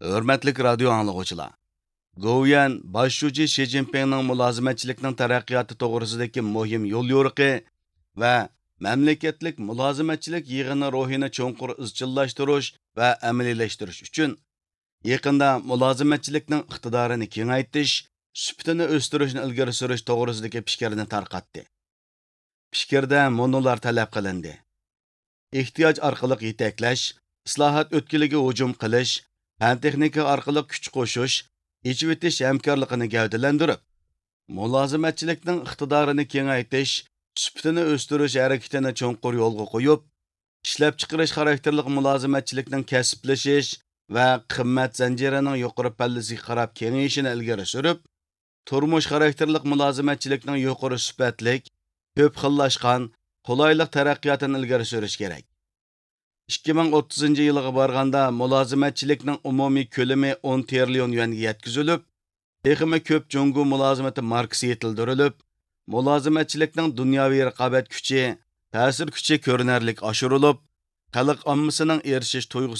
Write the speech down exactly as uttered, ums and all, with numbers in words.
ھۆرمەتلىك رادىيو ئاڭلىغۇچىلار! گوۋۇيۈەن باش شۇجى شى جىنپىڭنىڭ مۇلازىمەتچىلىكنىڭ تەرەققىياتى توغرىسىدىكى مۇھىم يوليورۇقى ۋە مەملىكەتلىك مۇلازىمەتچىلىك يىغىنى روھىنى چوڭقۇر ئىزچىللاشتۇرۇش ۋە ئەمەلىيلەشتۈرۈش ئۈچۈن، يېقىندا مۇلازىمەتچىلىكنىڭ ئىقتىدارىنى كېڭەيتىش، سۈپىتىنى ئۆستۈرۈشنى ئىلگىرى سۈرۈش توغرىسىدىكى پىكىرنى تارقاتتى. پىكىردە مۇنۇلار تەلەپ قىلىندى: ئېھتىياج ئارقىلىق يېتەكلەش، ئىسلاھات ئۆتكىلىگە ھۇجۇم قىلىش، پەن-تېخنىكا ئارقىلىق كۈچ قوشۇش، ئېچىۋېتىش ھەمكارلىقىنى گەۋدىلەندۈرۈپ، مۇلازىمەتچىلىكنىڭ ئىقتىدارىنى كېڭەيتىش، سۈپىتىنى ئۆستۈرۈش ھەرىكىتىنى چوڭقۇر يولغا قويۇپ، ئىشلەپچىقىرىش خاراكتېرلىك مۇلازىمەتچىلىكنىڭ كەسىپلىشىش ۋە قىممەت زەنجىرىنىڭ يۇقىرى پەللىسىگە قاراپ كېڭىيىشىنى ئىلگىرى سۈرۈپ، تۇرمۇش خاراكتېرلىك مۇلازىمەتچىلىكنىڭ يۇقىرى سۈپەتلىك، كۆپ خىللاشقان، قولايلىق تەرەققىياتىنى ئىلگىرى سۈرۈش كېرەك. ئىككى مىڭ ئوتتۇزىنچى يىلغا بارغاندا مۇلازىمەتچىلىكنىڭ ئومۇمىي كۆلىمى ئون تىرىليون يۈەنگە يەتكۈزۈلۈپ، تېخىمۇ كۆپ جۇڭگو مۇلازىمىتى ماركىسى يېتىلدۈرۈلۈپ، مۇلازىمەتچىلىكنىڭ دۇنياۋى رىقابەت كۈچى، تەسىر كۈچى كۆرۈنەرلىك ئاشۇرۇلۇپ، خەلق ئاممىسىنىڭ ئېرىشىش تۇيغۇسى